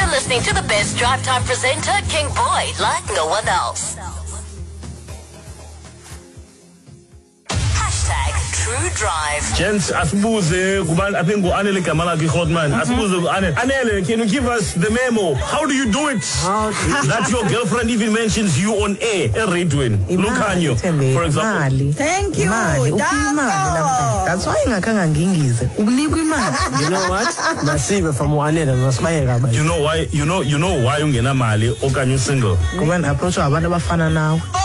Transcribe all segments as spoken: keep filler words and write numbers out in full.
You're listening to the best drive time presenter, King Boy, like no one else. Hashtag True Drive. Gents, asibuze kubantu, I think ngu-Anele igama lakhe iHotman. Asibuze ku-Anele. Anele, can you give us the memo? How do you do it? How do you- That your girlfriend even mentions you on air, eradioweni. Lukhanyo, for example. Imali. Thank you, Imali. Uphiwa imali namhlanje. That's why ingakhange ngingize. Unikwa imali. You know what? Masive from uAnele masibayeka abanye. You know why? You know, you know why ungenamali okanye usingle? Ngoba ndi-approachwa ngabantu abafana nawe. Oh!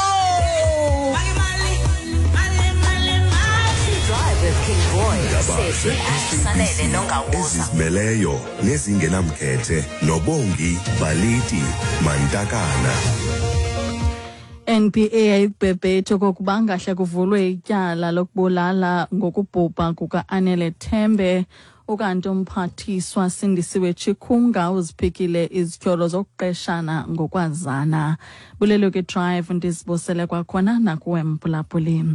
True Drive with King Boy, Indaba Sesi and Sanele Nongawuza. Ezizimeleyo nezingenamkhethe noBongi Baliti Mantakana. N P A ayikubhebhethe okokuba ngahle kuvulwe ityala lokubulala ngokubhubha kuka-Anele Tembe. Ukanti umphathiswa Sindisiwe Chikunga uziphikile izityholo zokuqeshana ngokwazana. Bulelo ke Drive, ndizibusele kwakhona nakuwe mphulaphuli.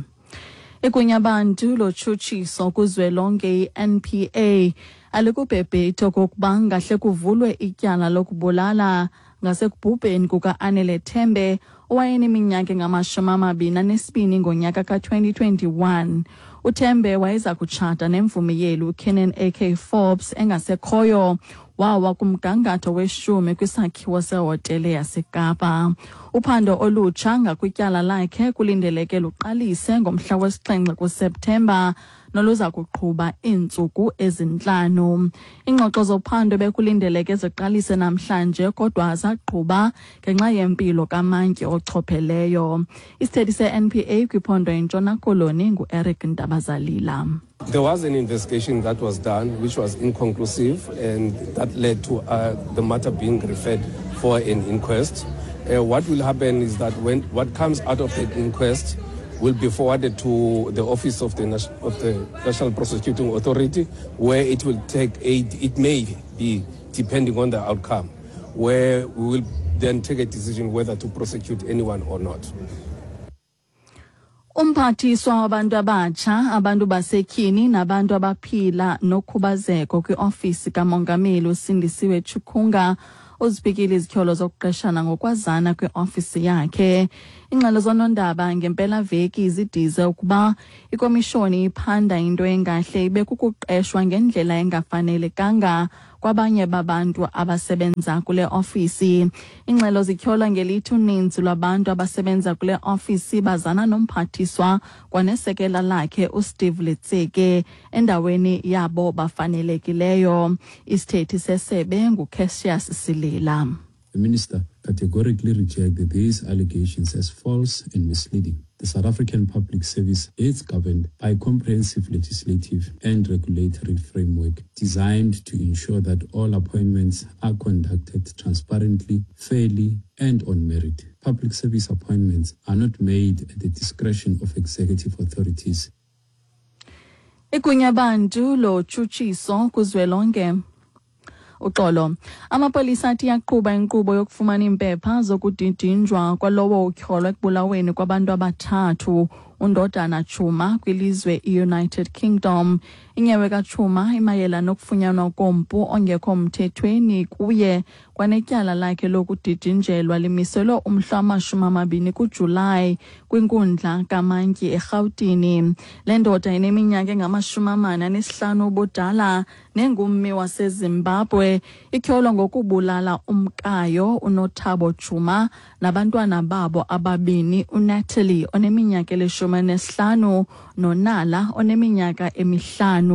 Igunyabantu lotshutshiso kuzwelonke i-N P A alikubhebhethi okokuba ngahle kuvulwe ityala lokubulala ngasekubhubheni kuka-Anele Tembe owayeneminyaka engamashumi amabini anesibini ngonyaka ka-twenty twenty-one. UTembe wayeza kutshata nemvumi yeli uKiernan A K Forbes engasekhoyo, wawa kumgangatho weshumi kwisakhiwo sehotele yaseKapa. Uphando olutsha ngakwityala lakhe kulindeleke luqalise ngomhla wesixhenxe kuSeptemba noluza kuqhuba iintsuku ezintlanu. Iingxoxo zophando bekulindeleke ziqalise namhlanje kodwa zaqhuba ngenxa yempilo kamantyi ochopheleyo. Isithethi se-N P A kwiphondo iNtshona Koloni ngu-Eric Ntabazalila. There was an investigation that was done which was inconclusive, and that led to uh, the matter being referred for an inquest. Uh, what will happen is that when what comes out of the inquest will be forwarded to the office of the, of the National Prosecuting Authority, where it will take a, it may be, depending on the outcome, where we will then take a decision whether to prosecute anyone or not. Umphathiswa wabantu abatsha, abantu basetyhini nabantu abaphila nokhubazeko kwiofisi kamongameli uSindisiwe Chikunga uziphikile izityholo zokuqeshana ngokwazana kwiofisi yakhe. Ingxelo zonondaba ngempelaveki zidize ukuba ikomishoni iphanda into engahle ibe kukuqeshwa ngendlela engafanelekanga kwabanye babantu abasebenza kule ofisi. Ingxelo zityhola ngelithi uninzi lwabantu abasebenza kule ofisi bazana nomphathiswa kwanesekela lakhe uSteve Letsike endaweni yabo bafanelekileyo. Isithethi sesebe nguCassius Silila. The minister categorically rejected these allegations as false and misleading. The South African Public Service is governed by a comprehensive legislative and regulatory framework designed to ensure that all appointments are conducted transparently, fairly, and on merit. Public service appointments are not made at the discretion of executive authorities. Igunyabantu lotshutshiso kuzwelonke, uxolo, amapolisa athi yaqhuba inkqubo yokufumana iimpepha zokudidinjwa kwalowo utyholwa ekubulaweni kwabantu abathathu undodana Chuma kwilizwe i-United Kingdom. Inyewe kaChuma imayela nokufunyanwa kompu ongekho mthethweni kuye kwanetyala lakhe lokudidinjelwa limiselwe umhla wamashumi amabini kuJulayi kwinkundla kamantyi eRhawutini. Le ndoda ineminyaka engamashumi amane anesihlanu ubudala nengummi waseZimbabwe ityholwa ngokubulala umkayo uNothabo Chuma nabantwana babo ababini, uNatalie oneminyaka elishumi nesihlanu noNala oneminyaka emihlanu.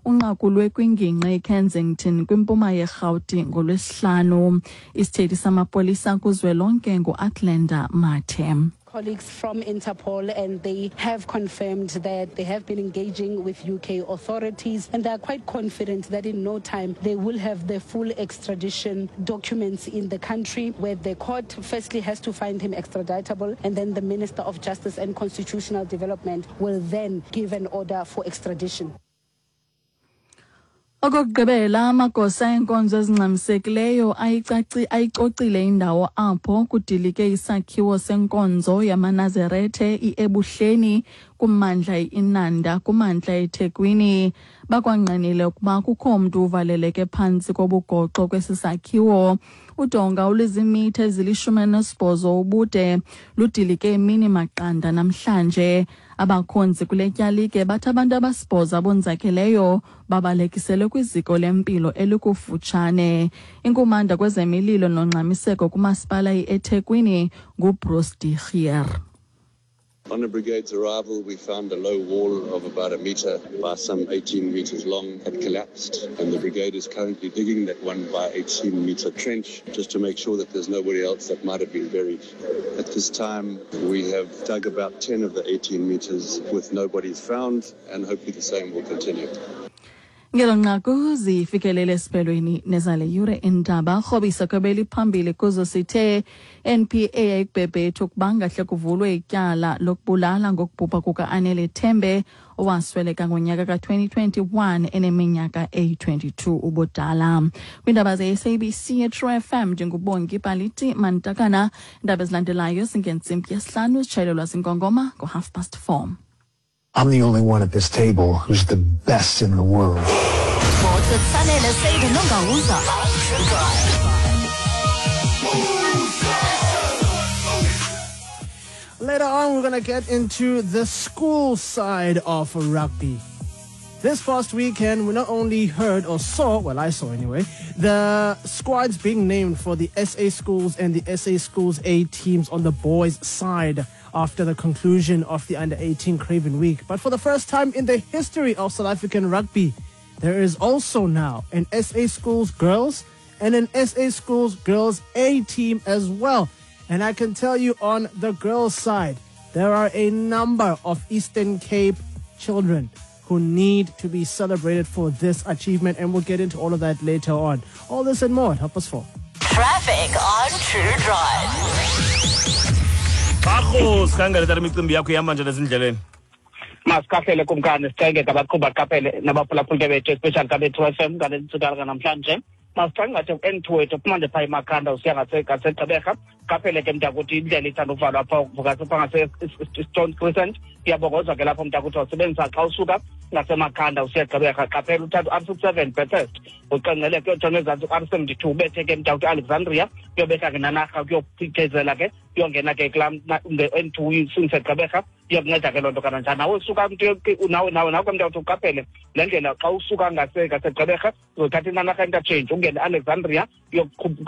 Unqakulwe kwingingqi iKensington kwimpuma yeRhawuti ngoLwesihlanu. Isithethi samapolisa kuzwelonke nguAthlenda Mathe. Colleagues from Interpol, and they have confirmed that they have been engaging with U K authorities, and they are quite confident that in no time they will have the full extradition documents in the country, where the court firstly has to find him extraditable, and then the Minister of Justice and Constitutional Development will then give an order for extradition. Okokugqibela, amagosa enkonzo ezingxamisekileyo ayicaci ayicocile indawo apho kudilike isakhiwo senkonzo yamaNazarethe iEbuhleni kummandla iNanda kumantla eThekwini. Bakwangqinile ukuba kukho mntu uvaleleke phantsi kobugoxo kwesi sakhiwo. Udonga oluzimitha ezilishumi elinesibhozo ubude ludilike imini maqanda namhlanje. Abakhonzi kule tyalike bathi abantu abasibhozo abonzakeleyo babalekiselwe kwiziko lempilo elikufutshane. Inkumanda kwezemililo nongxamiseko kumasipala i-eThekwini nguBruce de Gier. On the brigade's arrival, we found a low wall of about a meter by some eighteen meters long had collapsed, and the brigade is currently digging that one by eighteen meter trench just to make sure that there's nobody else that might have been buried. At this time, we have dug about ten of the eighteen meters with nobody found, and hopefully the same will continue. Ngelo nqaku zifikelele esiphelweni nezale yure indaba. Rhobisa kwebeli phambili kuzo sithe N P A ayikubhebhethu ukuba ngahle kuvulwe ityala lokubulala ngokubhubha kuka-Anele Tembe owasweleka ngonyaka ka-twenty twenty-one eneminyaka eyi-twenty-two ubudala. Kwiindaba ze-S A B C True F M ndinguBongi Paliti Mantakana. Iindaba ezilandelayo zingentsimbi yesihlanu zitshayelelwa zingongoma ngo-half past four. I'm the only one at this table who's the best in the world. Sports with Sanele Seide Nongawuza. Later on, we're going to get into the school side of rugby. This past weekend, we not only heard or saw, well, I saw anyway, the squads being named for the S A Schools and the S A Schools A teams on the boys' side after the conclusion of the under eighteen Craven Week. But for the first time in the history of South African rugby, there is also now an S A Schools Girls and an S A Schools Girls A team as well. And I can tell you on the girls' side, there are a number of Eastern Cape children who need to be celebrated for this achievement, and we'll get into all of that later on. All this and more at half past four. Traffic on True Drive. Bakho sikhangele imicimbi yakho ihamba njani ezindleleni? Masikahlele kumkani sicenge ngabaqhuba qaphele nabaphulaphuli bethu especially kabethu F M ngale ntsika namhlanje. Masicangathe ku-N two wethu phuma nje phaa eMakhanda usiya ngaseGqeberha. Qaphele ke mntakuthi indlela ithanda uvalwa apha phaa ngase-Stone Crescent. Iyabongozwa ke lapho mntakuthi wasebenzisa xa usuka ngaseMakhanda usiya Gqeberha. Qaphela uthatha u-R sixty-seven Bathurst uqengqele kuyotshona ezantsi u-R seventy-two ubethe ke mntakuthi Alexandria kuyobetha ke Nanarha kuyophithezela ke kuyongena ke kulaa nge-N two isingise Gqeberha. Iyakunceda ke loo nto kananjani. Nawe usuka nawe nawe nawe ke mntakuthi uqaphele le ndlela xa usuka ngaseGqeberha uzothatha iNanarha interchange ungene Alexandria